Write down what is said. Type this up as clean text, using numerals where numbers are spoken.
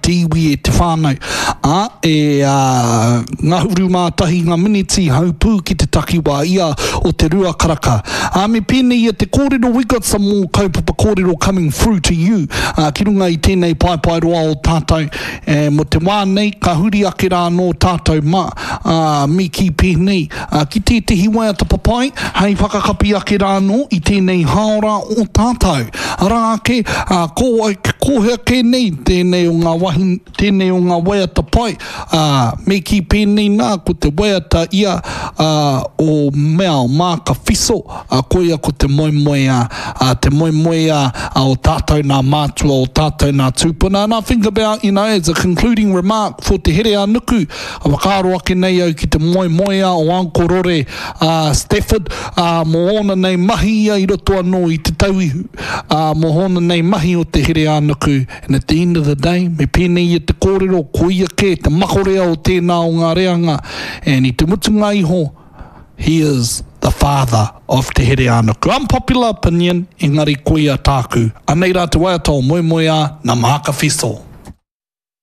te iwi, e te whānau. Ā, e 11 ngā miniti haupū ki te takiwā ia o te rua karaka. Ā, me pēnei ia te kōrero, we got some more kaupapa kōrero coming through to you, ā, ki runga i tēnei paepaeroa o tātou, e, mō te wā nei, ka huri ake rā anō tātou mā, ā, me kī pēnei, ā, ki tētehi waiata papai hei whakakapi ake rā anō i tēnei hāora o tātou. Arā ake, ā, ko wai, ko hea kē nei tēnei o ngā wahi, tēnei o ngā waiata pai, ā, me kī pēnei nā, ko te waiata ia, ā, o Mea Maaka Fiso, ā, koia ko te moemoeā, ā, te moemoeā o tātou nā mātua, o tātou nā tūpuna. And I think about, you know, as a concluding remark for Te Here-a-Nuku, a whakaaro ake nei au ki te moemoeā o Uncle Rore, ā, Stafford, ā, mō ōna nei mahi ia i roto anō i Te Tauihu, ā, mō ōna nei mahi o Te Here-a-Nuku, And at the end of the day, me pēnei ia te kōrero, ko ia kē te makorea o tēnā o ngā reanga, and i te mutunga iho, he is the father of Te Hereānuku. Unpopular opinion, engari koia tāku. Anei rā te waiata o Moemoeā, nā Maaka Fiso.